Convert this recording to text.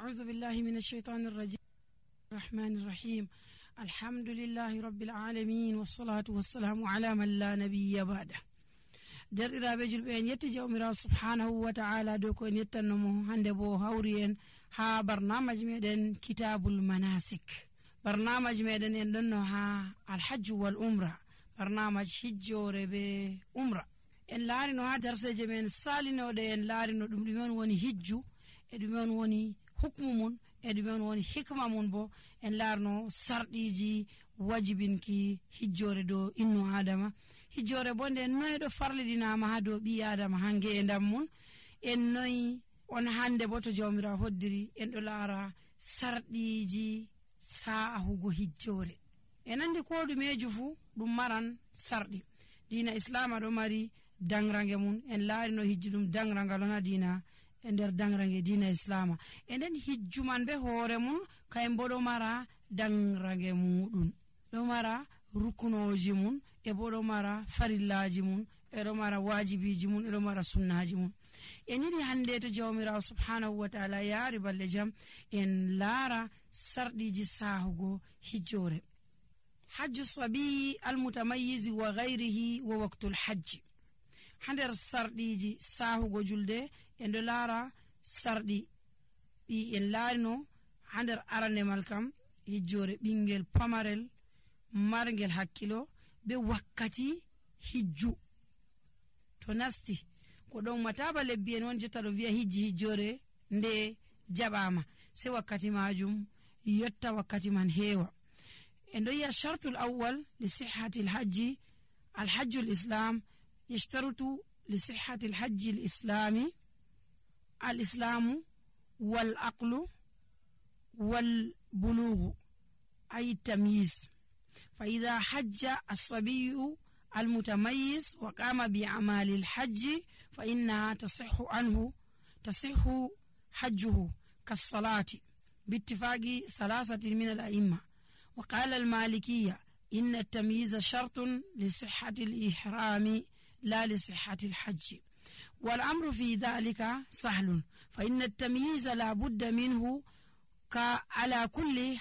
أعوذ بالله من الشيطان الرجيم الرحمن الرحيم الحمد لله رب العالمين والصلاة والسلام على من لا نبي بعده derɗiraɓe julɓe en yetti jawmirawo subhanahu wa ta'ala dow ko en yettannomo hande bo hawri en ha barnamaji meɗen kitabul manasik. Barnamaji meɗen en ɗonno ha alhajju wal umra, barnamaji hijjore be umra. En laarino ha darseje men salinoɗe en laarino ɗum ɗume on woni hijju e ɗume on woni hukmu mun e ɗume on woni hikma mun. Bo en laarno sarɗiji wajibinki hijjore dow innu adama. Hijjore bo nde noy ɗo farliɗinama ha dow ɓi adama ha nge'endam mun. En noyi on hande bo to jawmirawo hoddiri en ɗo laara sarɗiji sa'ahugo hijjore. En andi ko ɗumeju fu ɗum maran sarɗi. Dina islama ɗo mari dangrange mun. En laari no hijju ɗum dangrangal on ha dina e nder dangrange dina islama. E nden hijju man be hoore mun kayen bo ɗo mara dangrange muɗum, ɗo mara rukunoji mun e bo ɗo mara farillaji mun e ɗo mara wajibiji mun e ɗo mara sunnaji mun. En yiɗi hande to jawmirawo subhanahu wa ta'ala yaari balle jam en laara sarɗiji sahugo hijjore. hajju sabiyi almutamayyizi wa ghayrihi wa waqtul hajji. ha nder sarɗiji sahugo julde en ɗo laara sarɗi ɗi en laarino ha nder arandemal kam hijjore ɓingel pamarel margel hakkilo be wakkati hijju to nasti ko ɗon mataba lebbi en won jotta ɗo wi'a hijjore nde jaɓama sei wakkati majum yotta wakkati man heewa. en ɗo yi'a shartul awwal li sihhati alhajji alhajju lislam يشترط لصحة الحج الإسلام والعقل والبلوغ أي التمييز. فإذا حج الصبي المتميز وقام بأعمال الحج فإنها تصح حجه كالصلاة باتفاق ثلاثة من الأئمة. وقال المالكية إن التمييز شرط لصحة الإحرام لا لصحة الحج، والأمر في ذلك سهل، فإن التمييز لا بد منه على كل